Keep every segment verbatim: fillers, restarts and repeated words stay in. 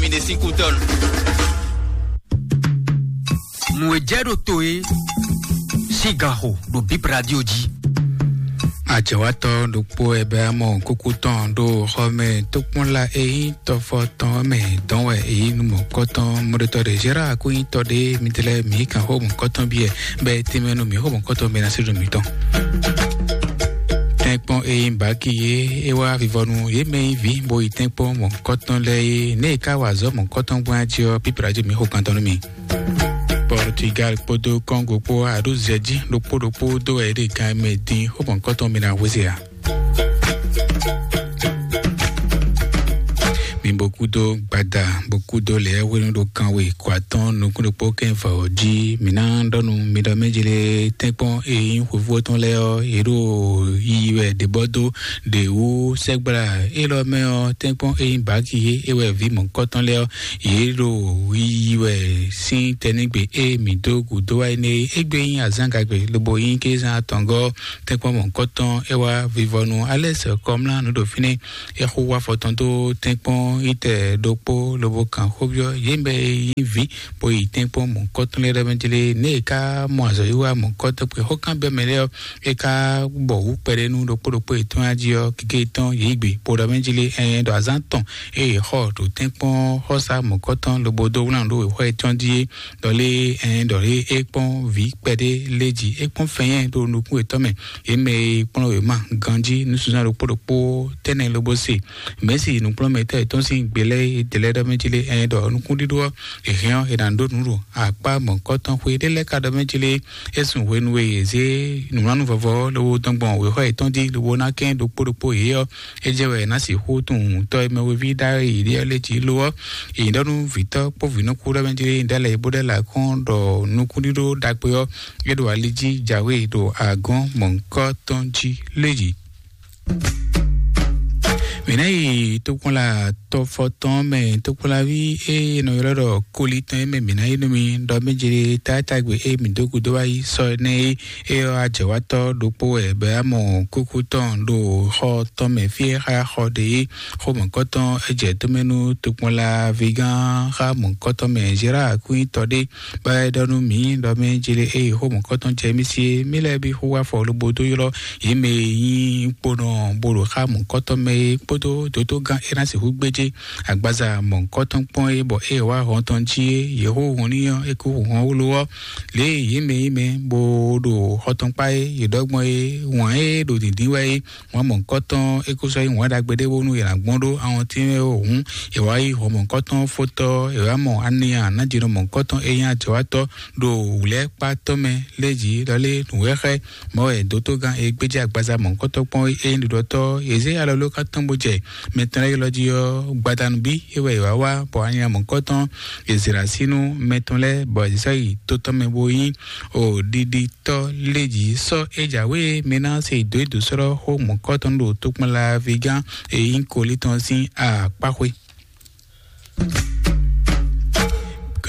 Mi ɖe sín kútɔ́nu. Nǔ e jɛ ɖo to e sín ganxo ɖo Bib Radio jí. Ajɛwatɔ ɖokpó wɛ bɛ amɔ kúkú tɔn ɖo xɔ mɛ tókpɔnla e nyí tɔfɔ tɔn mɛ dɔn wɛ e nyí numɔkɔtɔn mɔɖetɔ ɖe Gérard kó nyí tɔ ɖe mitɛlɛ mǐ kan xó mɔkɔtɔn biɛ bɛ tɛmɛ nú mǐ xó mɔkɔtɔn mɛ ná sí ɖo mǐtɔn. Tɛ́nkpɔ́n e nyí baki yé é wá vivɔnu yé mɛ nyí vǐ bo yi tɛ́nkpɔ́n mɔkɔtɔn lɛ́ɛ é, nɛ̌ è ká wa azɔ̌ mɔkɔtɔn gbɔn jí ɔ́, pípla jí mǐ xó kan tɔn nú mi. Portugal kpódó Congo kpó aɖǔ zɛ jí ɖokpó ɖokpó dó wɛ yě ɖe gan e mɛ din xó mɔ̌hunkɔtɔn mi ná hwezé ǎ. Mi bo kúdó gbada, bo kúdó lɛ̌ hwenu ɖo kanwe kɔ atɔ́ɔ́n nukún ɖokpó kɛ́n vɔ jí. Mǐ ná ɖɔ nú mi ɖɔ mɛ jlé tɛ́nkpɔ́n e nyí hwevú tɔn lɛ́ɛ ɔ́, yě ɖo yiyi wɛ ɖě bɔ dó ɖě wú sɛ́gbla élɔ́ mɛ ɔ́, tɛ́nkpɔ́n e nyí baki é wɛ vǐ mɔ̌hunkɔtɔn lɛ́ɛ ɔ́, yě ɖo yiyi wɛ sín tɛnígbe e mǐ dó gǔdo wá énɛ́ é. Égbé nyí azǎngagbe lobo nyí kézán atɔngɔ́ tɛ́nkpɔ́n mɔ̌hunkɔtɔn é wá vivɔnu alɛ́ sɛ kɔmlá nǔ ɖo fínɛ́. É xo wá fɔ tɔn dó tɛ́nkpɔ́n yítɛ ɖokpó lobo kan xóbyɔ́ yě mɛ e nyí vǐ bó yi tɛ́nkpɔ́n mɔ̌hunkɔtɔn lɛ́ɛ ɖɔ́ mɛ jlé. Nɛ̌ è ká mɔ azɔ̌wiwa mɔ̌hunkɔtɔn kpé xó kan bɛ́ mɛ lɛ́ɛ ɔ́, é ká bɔ wǔ kpɛɖé nú ɖokpó ɖokpó yětɔn jí ɔ́, gěgé tɔn yě yi gbe bó ɖɔ mɛ jlé ɛn ɖɔ azǎn tɔn e yě xɔ ɖo tɛ́nkpɔ́n xɔ́sá mɔ̌hunkɔtɔn lobo dó wlán ɖó wěxɔ yětɔn jí é. Ɖɔ lé ɛn ɖɔ lé é kpɔ́n vǐ kpɛɖé lé jí, é kpɔ́n fɛnnyɛ́ ɖo nukún yětɔn mɛ. Yě mɛ e kplɔ́n wěma ganjí nusúnzán ɖokpó ɖokpó tɛ́nnɛ lobo se. Mɛ̌si nǔkplɔ́nmɛtɔ́ yětɔn sín gbe lɛ́ɛ e dě lɛ́ɛ ɖɔ mɛ jí lé ɛn ɖɔ nukúnɖíɖó ɔ́, è hɛn ɔ́, è nǎ ɖó nǔ ɖo akpá mɔ̌hunkɔtɔn xwé ɖé lɛ́ɛ ka ɖɔ mɛ jí lé. É sun hwenu e yě zé nǔwlánú vɔvɔ ɔ́ lobo dɔn gbɔn wěxɔ yětɔn jí lobo ná kɛn ɖokpó ɖokpó yě ɔ́, é jɛ wɛ è nǎ sixú tunwun tɔ́ e mɛwéví ɖ'ayǐ ɖe ɔ́ lɛ́ɛ jí lo ɔ́. È nyǐ ɖɔ nú vǐtɔ́ kpó vǐnɔ́kú ɖɔ mɛ jí lé nyí ɖ'alɛ bó ɖ'alɛ akɔ́n ɖɔ nukúnɖíɖó ɖagbe ɔ́, é ɖo ali jí jǎwe ɖo agɔ̌n mɔ̌hunkɔtɔn jí lé jí. Mǐ ná yi tokpɔnla tɔfɔtɔn mɛ, tokpɔnlaví e è nɔ ylɔ́ ɖɔ koli tɔn é mɛ mǐ ná yi nú mi ɖɔ mɛ jlé tátágbe e mǐ dó gúdo wá yi sɔ énɛ́ é. É ɔ́, ajɛ̌wátɔ́ ɖokpó wɛ bɔ é wá mɔ kúkú tɔn ɖo xɔ tɔn mɛ fí e xá xɔ ɖe é. Xó mɔ̌kɔtɔn é jɛ tó mɛ nú tokpɔnlaví gán xá mɔ̌kɔtɔn mɛ Zerá kúnyitɔ ɖé. Bɔ é ɖɔ nú mǐ ɖɔ mɛ jlé eye xó mɔ̌kɔtɔn jɛ mì sí é, mì lɛ́ɛ bí xó wá fɔ lobo dó ylɔ́ yě mɛ e nyí kponɔ bó ɖo xá mɔ̌kɔtɔn mɛ é kpódó dǒtó gán é ná sixú gbéjé agbaza mɔ̌kɔtɔn kpɔ́n é, bɔ é wá hɔn tɔn jí é, yě xó hɔn n'i ɔ́, é kú hɔn wló ɔ́. Lě e yě mɛ yí mɛ bó ɖo xɔtɔn kpá é, yě ɖɔ gbɔn é, wǎn é ɖo dǐndín wɛ é, wǎn mɔ̌kɔtɔn é kó sɔ́ nyí wǎn ɖagbe ɖé bónú è nǎ gbɔn ɖó awɔntín mɛ ó hǔn, è wǎ yí hɔn mɔ̌kɔtɔn fótɔ́, è wǎ mɔ aniya nǎjínɔ mɔ̌kɔtɔn é nyí ajɔ̌wátɔ́ ɖo wǔlɛ́kpátɔ́ mɛ lé jǐ ɖɔ lé nǔwɛ́xɛ́. Mɔ̌ wɛ dǒtó gán e gbéjé agbaza mɔ̌kɔtɔn kpɔ́n é nyí ɖiɖɔtɔ́, è zé alɔ ló ká tɔ́n bó jɛ mɛ tɔn lɛ́ɛ ylɔ́ jí ɔ́, gbadanu bí é wɛ è wǎ wá, bɔ anya mɔ̌kɔtɔn è zě ɖo así nú mɛ tɔn lɛ́ɛ, bɔ è sɔ́ yi tó tɔn mɛ bó nyí o ɖiɖitɔ́ lé jǐ sɔ́ é jǎwe mɛ ná se dǒ é dǒ sɔ́ xó mɔ̌kɔtɔn ɖo tokpɔnlaví gán e nyí kolí tɔn sín akpáxwé.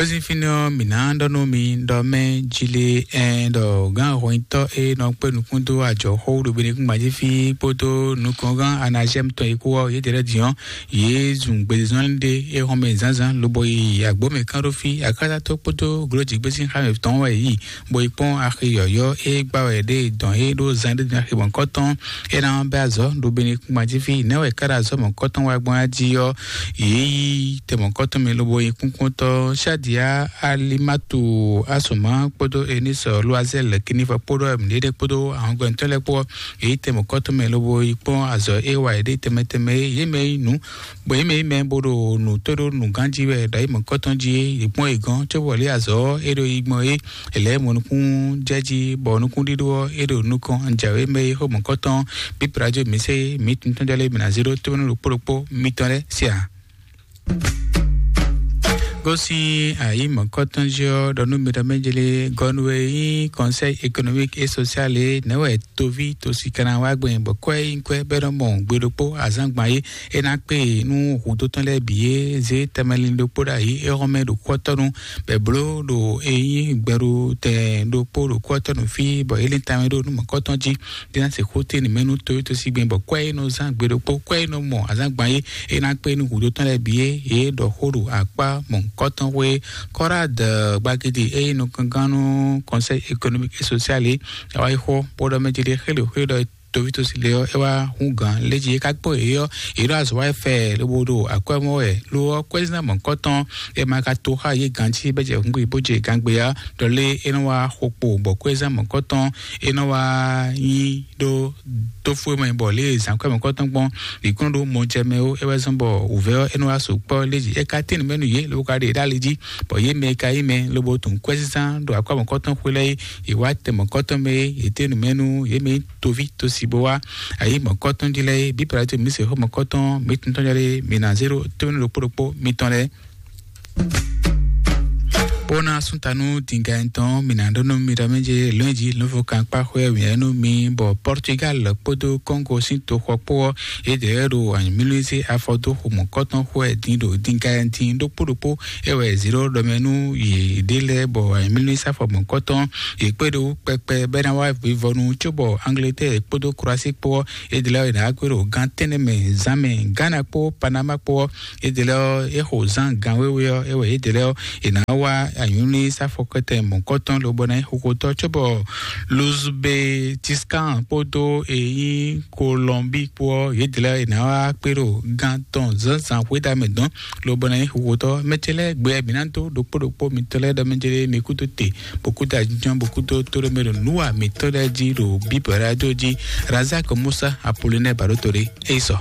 Kɔsífínɔ mǐ ná ɖɔ nú mi ɖɔ mɛ jí lé ɛn ɖɔ gán hɔnyitɔ́ e nɔ kpé nukún dó ajɔ̌xó ɖo Benekúngban jí fí kpódó nukɔngán Anazɛ́mu tɔn e kú ɔ́, yědɛɛ lɛ́ɛ din ɔ́, yě zun gbezán ɖé é hɔn mɛ zǎnzǎn lobo yi agbǒ mɛ kán ɖó fí. Akátá tó kpódó glǒ jǐgbésín xá mɛ tɔn wɛ yí bo yi kpɔ́n axi yɔ̌yɔ́ e gbá wɛ ɖe dɔn é ɖó zan ɖé din axi mɔ̌kɔtɔn é ná bɛ́ azɔ̌ ɖo Benekúngban jí fí. Nɛ̌ wɛ ká ɖo azɔ̌ mɔ̌kɔtɔn wá gbɔn jí ɔ́, yě yí tɛ mɔ̌kɔtɔn mɛ lobo yi kúnkúntɔ́ Shadia Alimatu Asuma kpódó Enisɔ Loazɛl Kinifɔ kpódó Emilede kpódó ahɔngbɛntɔ́ lɛ́ɛ kpó, yě yí tɛ mɔ̌kɔtɔn mɛ lobo yi kpɔ́n azɔ̌ e wa yě ɖe tɛnmɛ tɛnmɛ é. Yě mɛ yí nǔ Bɔ yě mɛ yí mɛ bó ɖo nǔ tó ɖó nǔgán jí wɛ ɖo ayǐ mɔ̌kɔtɔn jí é, yě kpɔ́n yě gɔ́n cóbɔ lě azɔ̌ ɔ́ é ɖo yi gbɔn é, è lɛ̌ mɔ nukún jɛ jí, bɔ nukúnɖíɖó ɔ́ é ɖo nukɔn jǎwe mɛ é xó mɔ̌kɔtɔn pípla jó mǐ sɛ́ é, mǐ tuntun jɔ lé mǐ ná zé ɖó tónú ɖokpó ɖokpó mitɔn lɛ́ɛ sia. Gosín ayǐ mɔ̌kɔtɔn jí ɔ́, ɖɔ nú mi ɖɔ mɛjele gɔnu e nyí Conseil économique et social é, nɛ̌ wɛ toví tosi kana wá gbɛn bɔ kwɛ nyí kwɛ bɛ́ nɔ mɔ gbe ɖokpó azǎngban é. É ná kpé nú hǔndótɔn lɛ́ɛ bǐ é zé tɛmɛlin ɖokpó ɖo ayǐ é hɔn mɛ ɖo kɔ́tɔ́nu bɛ̌ bló ɖo é nyí gbɛɖu tɛn ɖokpó ɖo kɔ́tɔ́nu fí bɔ é lɛ́n tamɛ ɖó nú mɔ̌kɔtɔn jí. Dina se xóte ni mɛnu to to si gbɛn bɔ kwɛ e nɔ zan gbe ɖokpó kwɛ e nɔ mɔ azan gban ye e na kpe nu hudo tɔn lɛ bi ye ye ɖɔ xó ɖo akpa mɔnkɔtɔn xwe kɔra de gbagidi e nɔ kankan nu Conseil économique et social ye awa yi xɔ bɔ ɖɔ mɛ jeli xele xwe ɖɔ tovi to si le ɔ e wa hun gan le ji e ka kpɔ ye ɔ ye ɖo azɔ wa fɛ lobo ɖo akwɛ mɔ wɛ lo ɔ kwɛ zina mɔnkɔtɔn e ma ka to xa ye gan ci bɛ jɛ hungbe bo jɛ gangbe ya ɖɔ le e nɔ wa xɔ kpo bɔ kwɛ zina mɔnkɔtɔn e nɔ wa nyi ɖo tófúe mɛ bɔ lě e zǎnkwɛ́ mɔ̌kɔtɔn gbɔn ɖi kún ɖó mɔjɛmɛ ó é wɛ zɔ́n bɔ wǔvɛ́ ɔ́ é nɔ wá so kpɔ́ lé jí é ka tín nǔ mɛ nú yě lobo ka ɖe ɖ'ali jí bɔ yě mɛ e ka yí mɛ lobo tunwun kwɛ́sísán ɖo akwá mɔ̌kɔtɔn xwé lɛ́ɛ é yě wá tɛ mɔ̌kɔtɔn mɛ é yě tín nǔ mɛ nú yě mɛ toví tosi bó wá ayǐ mɔ̌kɔtɔn jí lɛ́ɛ é bí pɛlɛtɛ mǐ se xó mɔ̌kɔtɔn mǐ tɔn tɔn jɔ ɖe mǐ ná zé ɖó tónú ɖokpó ɖokpó mitɔn lɛ́ɛ. Bó ná súntanú dǐnganyitɔn mǐ ná ɖó nú mi ɖɔ mɛ jɛ lɔ̌nyijǐ lɔ̌nfɔkankpá xwɛ wǐyá nú mi bɔ Portugal kpódó Congo sín toxɔ kpó ɔ́, yědɛɛ ɖo anyǔmílízé afɔdóxo mɔ̌kɔtɔn xwɛ din ɖo dǐngayi din ɖokpó ɖokpó. É wɛ zǐɖɔ ɖɔ mɛ nú yě ɖe lɛ́ɛ bɔ anyǔmílízé afɔ mɔ̌kɔtɔn yě kpé ɖó kpɛkpɛ bɔ é ná wá vivɔnu cóbɔ Angleterre kpódó Croatie kpó ɔ́, yědɛɛ lɛ́ɛ ɔ́, yě ná wá kpé ɖo gán tɛ́nnɛ mɛ zán mɛ. Ghana kpó Panama kpó ɔ́, yědɛɛ lɛ́ɛ ɔ́, é xo zán gan wéwé ɔ́, é wɛ yědɛɛ lɛ́ɛ ɔ́, è nǎ wá anyǔní sáfɔkɔtɛn mɔ̌kɔtɔn lobɔ ná nyí xoxotɔ́ cóbɔ Luzbetiskan kpódó èyí Kolɔnbi kpó ɔ́, yědɛɛ lɛ́ɛ è nǎ wá kpé ɖo gán tɔn zǎnzǎn xwéda mɛ dɔn lobɔ ná nyí xoxotɔ́. Mɛ ce lɛ́ɛ gbɛ mǐ ná dó ɖokpó ɖokpó mitɔn lɛ́ɛ ɖɔ mɛ jɛ mi kúdó te bó kúdó ajínjɔ́n bó kúdó tóɖómɛ ɖo nǔwa mǐtɔn lɛ́ɛ jí ɖo Bíbɛl rájó jí. Razak Musa Apolinɛ Baɖótole é yi sɔ.